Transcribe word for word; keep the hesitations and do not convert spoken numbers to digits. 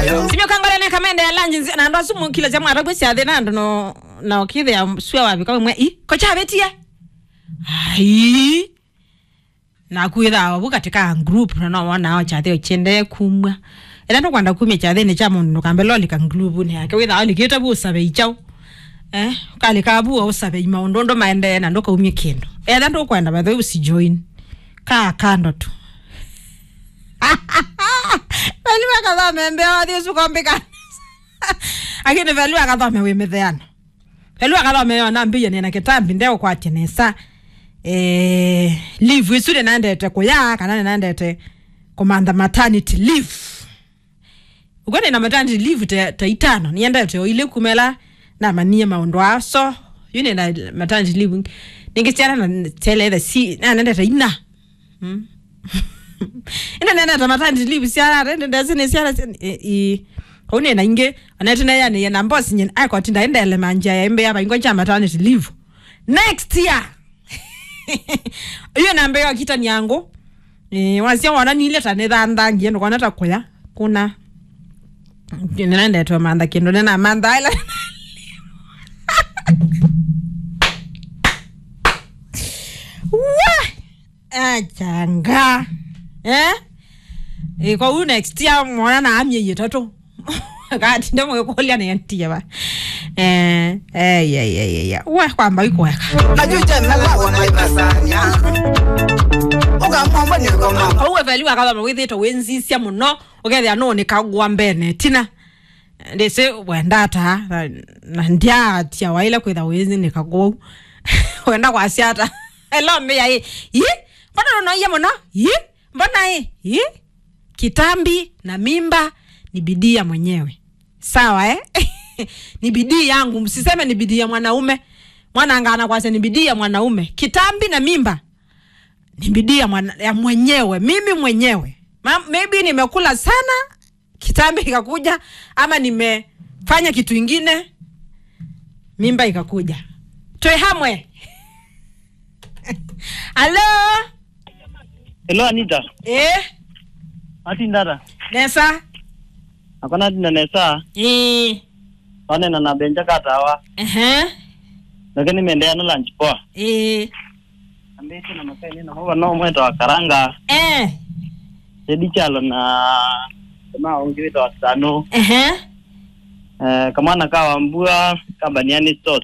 Simio kangole ne kamende ya lunch nzi-, na ndo sumu kila cha mwata kwesi athina ndo no, na okithe ya sua wapi kwa mwe. I, ko cha betie. Ai. Na kwĩthaa vu katika group, na no wona o kyathĩ ũkyendee kumw'a. Ĩla ndũkwenda kumya kyathĩnĩ kya mũndũ, ndũkambe lolika group-nĩ yake. Wĩthaa ũlikĩte vu ũsave ikyau. Eh, ũkalika vu ũsave imaũndũ ũndũ maendee na ndũkaumye kĩndũ. Etha ndũkwenda, by the way, usijoin. Kaa kando tu. Velu akathome mbea wathi ũsu kombĩka. Lakini velu akathome wĩ mĩtheano. Velu akathome yo nambĩie nĩna kĩtambi ndeũkwatya nesa. Eh, leave isu nĩnaendete kũya kana nĩnaendete kũmantha maternity leave. Ũkw'o nĩna maternity leave ta, ta itano. Nĩendete o ilĩ kumela namanyie maũndũ aa. So, yu nĩna maternity leave. Nĩngĩ syana na teleethe si, nanendete ina. Mm. Ĩndĩ nĩnendete maternity leave syana, ĩndĩ ndesĩ nĩ syana, i, i, kau nĩna ingĩ, onete neyanĩie na boss nyina, akotinda ĩndele manjia ya ĩmbĩ ya vaingwa cha maternity leave. Next year. Iyo nambĩĩa kitania ngũ. Eh, wasya wona nile ta nĩthandangie, ndũkona ta kũya. Kuna. Nĩnendetwe mantha kĩndũ, nĩnamantha ĩla. Wa! Achanga. Eh? Eh, kwa hiyo next year mwana na amie itatu. Kati ndio mwe kulia na yantia ba. Eh, eh, ya, ya, ya, ya. Wa kwamba iko weka. Najua jana la wana ibasanya. Uga mambo ni kwa mambo. Kwa hiyo veli wakaba mawithito wenzisia muno. Ukethia no ni kagwa mbene. Tina. Ndĩsĩ wenda ata, na, na ndyaatia waĩle kwĩtha wĩnĩka kũu. Wenda kwasya ata? Elo mbĩa ĩ, ĩ? Mbona ũnoie mũno? Ĩ? Mbona ĩ? Ĩ? Kitambi na mimba ni bidii ya mwenyewe. Sawa, eh? Ni bidii yangu, msiseme ni bidii ya mwanaume. Mwana anga anakwasya ni bidii ya mwanaume. Kitambi na mimba ni bidii ya mwana, ya mwenyewe. Mimi mwenyewe. Ma, maybe nimekula sana, kitambi ikakuja, ama nimefanya kitu ingine, mimba ikakuja. Twe hamwe. Alo? Hello, Anita. Eh? Ati ndata. Nesa? Akona ati na nesa? Eh. Wane na na benja katawa. Ehe. Lakini mendea na lunch poa. Eh. Ambĩte na makai nĩ namo vano mweta wa Karanga. Eh. Tedi Chalo na kama ũngĩ wĩtawa Sano. Ehe. Eh, kamwana ka Wambua, kambani yani stores.